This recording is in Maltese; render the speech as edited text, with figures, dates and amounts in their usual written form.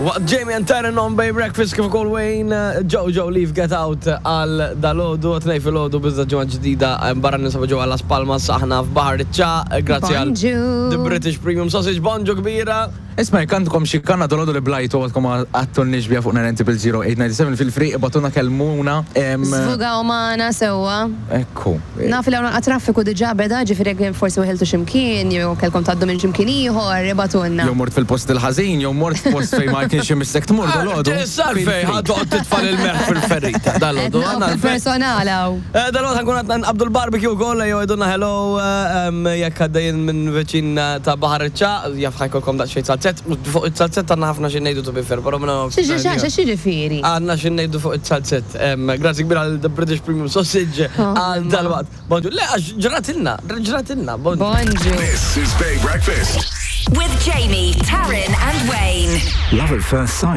Waqt Jamie and Taryn on Bay Breakfast kif ukoll Wayne, Jojo Leave Get Out għal dalodu, tnej filgħodu biżda ġimgħa ġdida barra ninsabu ġewwa Las Palmas aħna f'Baħar iċ-Ċagħaq, grazzi għal The British Premium Sausage, bonġu kbira. Isma' jekk għandkom xi kanna dolodu li blajtu għadkom ma għadtulniex biha fuq 9000897 fil free ibgħatulna kellmuna. Żvugaw magħna sewwa. Ekku. Naf li hawn anqa traffiku diġà beda, ġifieri jekk forsi weħiltu xi mkien jew kellkom tgħaddu minn xi mkien ieħor, ibgħatulna. Jew mort fil-post il-ħażin, jew mort f'post fejn ma kienx imissek tmur dolodu. Issa għalfejn ħa toqgħod titfa' l-melħ fil-ferita dalodu. Qed naqgħu fil-personal hawn. Dalwaqt ħa nkunu qed nqabbdu l-barbecue wkoll, ejjew għidulna hello jekk għaddejjin minn viċin ta' Baħar iċ-Ċagħaq, jaf ħa jkollkom daqsxejn zalzett, fuq iz-zalzett għandna ħafna xi ngħidu to be fair, però minn Xi xi xi x'jiġifieri? Għandna xi ngħidu fuq iz-zalzett. Grazzi kbira għal The British Premium Sausage għal dalwaqt. Bonġu. Le għax ġratilna, ġratilna. Bonġu. Bonġu. This is Bay Breakfast. With Jamie, Taryn and Wayne. Love at first sight.